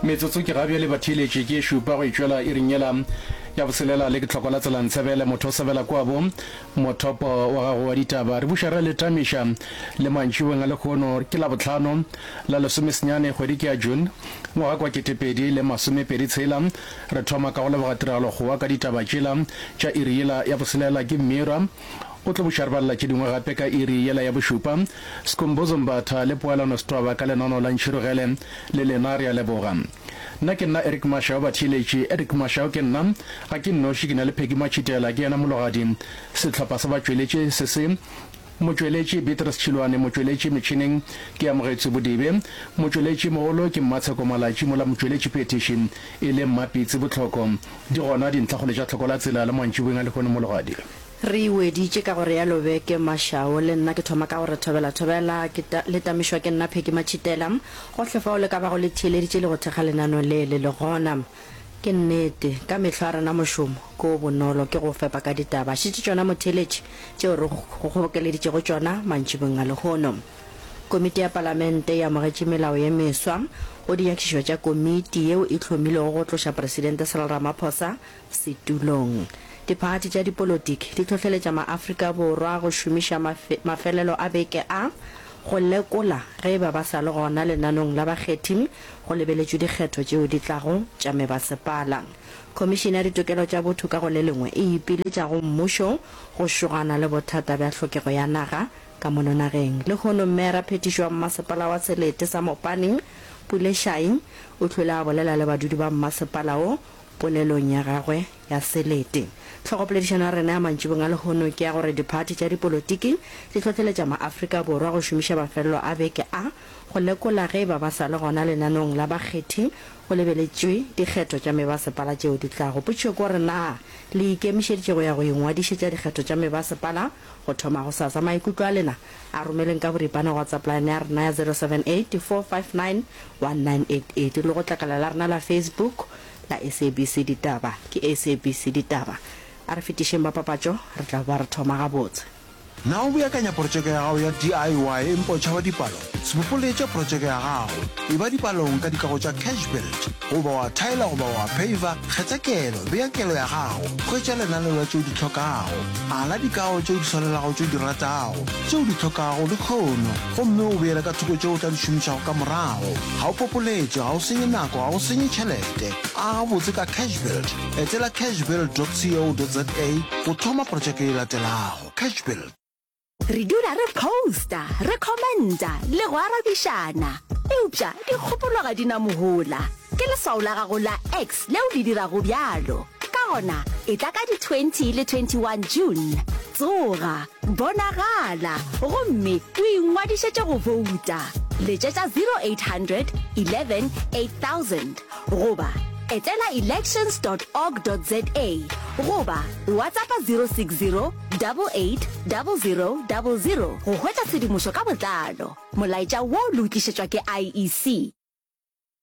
Metsotso ke ga bjale batheeletši ke e šupa go itšwela iring yela ya boselela le ke tlhoko la tsela ntshebele motho o sebela kwabo mothopo wa gago wa ditaba. Re buša re le tamiša le mantšiboeng a lehono ke Labohlano la lesomesenyane kgwedi ke ya June ngwaga kwa 2023. Re thoma ka go leboga tiragalo kgowa ka ditaba tšela tša iri yela ya boselela ke Mira o tlo buša re balela tše dingwe gape ka iri yela ya bošupa. Skhumbuzo Mbatha le Poelano Setwaba ka lenaneo la Ntšhirogele le lena re a leboga. Nna ke nna Eric Mashau batheeletši, Eric Mashau ke nna, ga ke nnoši ke na le Peggy Matšhitela ke yena mologadi, sehlopha sa batšweletši se se Motšweletši Beatrice Tšhilwane, motšweletši metšhineng ke Amogetswe Bodibe, motšweletši mogolo ke Mmatsheko Malatši mola motšweletši phethiši e le Mmapitsi Bohloko. Di gona dintlhakgolo tša tlhoko la tsela le mantšiboeng a lehono mologadi. Re e weditše ka go realo beke Mashao. Le nna ke thoma ka go re thobela thobela ke ta, le tamišwa ke nna Peggy Matšhitela. Gohle fao le ka bago le theeleditše le go thekga lenaneo le le le gona. Ke nnete, ka mehlo a rena mošomo ke o bonolo, ke go fepa ka ditaba. Šetše tšona motheeletši tšeo re go kgobokeleditšego tšona mantšibong a lehono. Komiti ya Palamente e amogetše melao ye meswa go dinyakišišo tša komiti yeo e hlomilwego go tloša Presidente Cyril Ramaphosa setulong. Diphathi tša dipolotiki di hlohleletša maAfrika Borwa go šomiša mafelelo a beke a go lekola ge e ba ba sa le gona lenanong la bakgethi go lebeletšwe dikgetho tšeo di tlago tša mebasepala. Khomišene ya Ditokelo tša Botho ka go le lengwe e ipiletša go mmušo go šogana le bothata bja hlokego ya naga ka mono nageng. Lehono Mmeara Phethišo wa Mmasepala wa Selete sa Mopani, Pule Shai, o hlwele a bolela le badudi ba mmasepala wo Polelong ya gagwe ya selete. Hlogopoledišano ya rena ya mantšibong a lehono ke ya gore diphathi tša dipolotiki di hlohleletša maAfrika Borwa go šomiša mafelelo a beke a go lekola ge e ba ba sa le gona lenaneong la bakgethi go lebeletšwe dikgetho tša mebasepala tšeo di tlago. Potšišo ke gore na le ikemišeditše go ya go ingwadišetša dikgetho tša mebasepala go thoma gosasa? Maikutlo a lena a romeleng ka boripana go WhatsApp line ya rena ya 078 459 1988 le go tlakala la rena la Facebook la SABC Ditaba. Ke SABC Ditaba. A re fetišeng ba papatšo, re tla boa re thoma gabotse. Na o beakanya protšeke ya gago ya DIY empa o tšhaba dipalo? Se popoletše protšeke ya gago. Eba dipalong ka dikago tša Cashbuild. Goba wa thaela goba wa phaver, kgetha kelo, bea kelo ya gago, hwetša lenaneo la tše o di hlokago. Ala dikago tše o di swanelago tše o di ratago, tše o di hlokago lehono, gomme o beele ka thoko tše o tla di šomišago ka morago. Ga o popoletše, ga o senye nako, ga o senye tšhelete. Aga botse ka Cashbuild. Etela cashbuild dot co dot za go thoma protšeke e latelago. Cashbuild. Re dula re posta, re commenta le go arabišana. Eupša dikgopolo ga di na mohola. Ke leswao la gago la X leo le dirago bjalo. Ka gona, etla ka di 20 le 21 June. Tsoga, bonagala, gomme o ingwadišetše go bouta. Letšetša 0800 11 8000 goba etela elections dot org dot za goba WhatsAppa 060 88 00 00 go hwetša tshedimošo ka botlalo. Molaetša wo le o tlišetšwa ke IEC.